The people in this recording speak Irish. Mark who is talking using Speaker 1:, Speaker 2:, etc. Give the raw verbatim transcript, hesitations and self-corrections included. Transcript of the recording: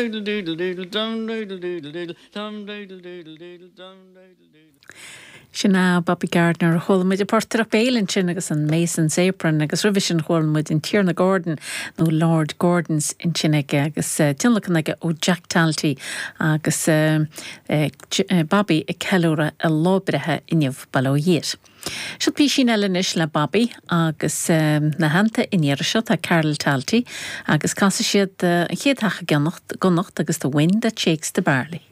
Speaker 1: Doodle doodle doodle dum doodle doodle doodle dum doodle doodle doodle dum doodle doodle.
Speaker 2: Sin é Bobby Gardiner chuala muid an portaireacht béil ansin agus an Mason's Apron agus roimhe sin chuala muid an Tiarna Gordon nó Lord Gordon's ansin aige agus uh, tionlacan aige ó Jack Talty agus uh, uh, Bobby ag ceiliúradh a lá breithe inniu bail ó Dhia air. Seo písín eile anois le Bobby agus um, ina theannta an iarraidh seo tá Carol Talty agus casfaidh siad uh, an chéad theach i gConnacht agus the wind that shakes the barley.